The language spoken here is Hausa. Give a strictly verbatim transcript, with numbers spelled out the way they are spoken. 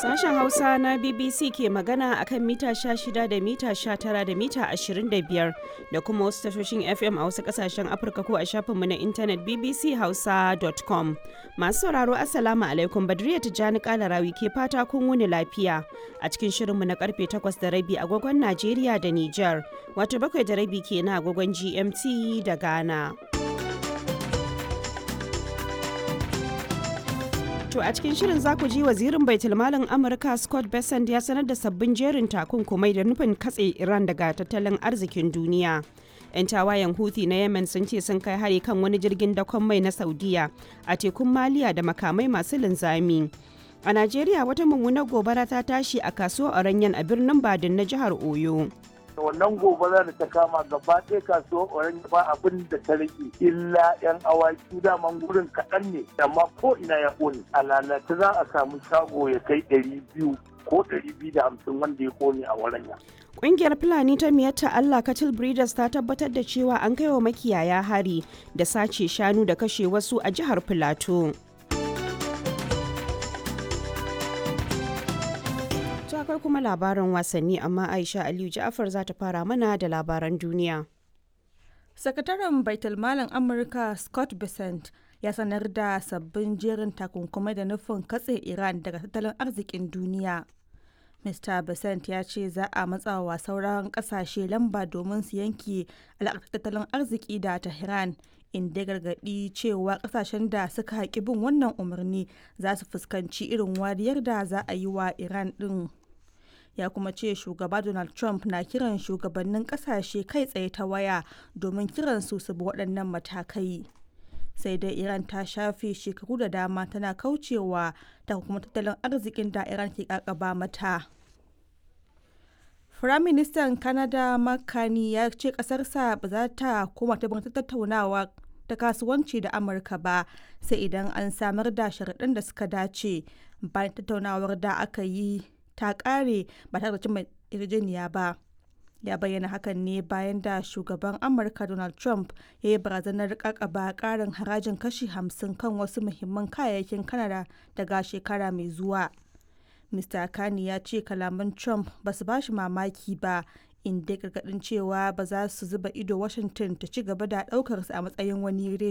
Sashen Hausa na B B C ke magana akan mita sha shida da mita sha tara da mita ashirin da biyar da kuma wasu tashoshin F M a wasu kasashen Afirka ko a shafinmu na intanet B B C hausa dot com. Masu sauraro, Assalamu alaikum, Badriya Tijjani Kalarawi ke fata kun wuni lafiya a cikin shirinmu na karfe takwas da rabi agogon Najeriya da Nijar, wato bakwai da rabi kenan agogon G M T da Ghana. To, a cikin shirin za ku ji wazirin baitulmalin Amurka Scott Bessent ya sanar da sabbin jerin takunkumai da nufin katse Iran daga tattalin arzikin duniya. 'Yan tawayen Houthi na Yemen sun ce sun kai hari kan wani jirgin dakon mai na Saudiya a tekun Maliya da makamai masu linzami. A Najeriya, wata mummunar gobara ta tashi a kasuwar Oranyan a birnin Badin na jihar Oyo. Wannan gobara da ta kama gaba ɗaya kasuwar Orange, ba abin da ta rage illa yan awaki. Daman gurin kaɗan ne, amma ko ina ya ƙone a lalata. Za a samu shago ya kai ɗari biyu ko ɗari biyu da hamsin wanda ya ƙone a waranya. Ƙungiyar Fulani ta Miyatta Allah Cattle Breeders ta tabbatar da cewa an kai wa makiyaya hari da sace shanu da kashe wasu a jihar Filato. To, akwai kuma labaran wasanni, amma Aisha Aliyu Ja'afar za ta fara mana da labaran duniya. Sakataren Baitulmalin Amurka Scott Bessent ya sanar da sabbin jerin takunkumai da nufin katse Iran daga tattalin arzikin duniya. Mister Bessent ya ce za a matsawa sauran kasashe lamba domin su yanke alaƙar tattalin arziki da Tehran, inda ya gargaɗi cewa kasashen da suka haƙi bin wannan umarni za su fuskanci irin wariyar da za a yi wa Iran ɗin. Ya kuma ce shugaba Donald Trump na kiran shugabannin kasashe kai tsaye ta waya domin kiran su su bi waɗannan matakai. Sai dai Iran ta shafe shekaru da dama tana kaucewa ta kuma tattalin arzikin da Iran ke kakaba mata. Firaministan Canada Mark Carney ya ce kasarsa ba za ta koma ta tattaunawa ta kasuwanci da Amurka ba sai idan an samar da sharaɗin da suka dace, bayan tattaunawar da aka yi ta kare ba tare da cimma yarjejeniya ba. Ya bayyana hakan ne bayan da shugaban Amurka Donald Trump ya yi barazanar kakaba karin harajin kashi hamsin kan wasu muhimman kayayyakin Kanada daga shekara mai zuwa. Mister Kani ya ce kalaman Trump ba su bashi mamaki ba, inda gargadin cewa ba za su zuba ido Washington ta ci gaba da daukar su a matsayin wani reshe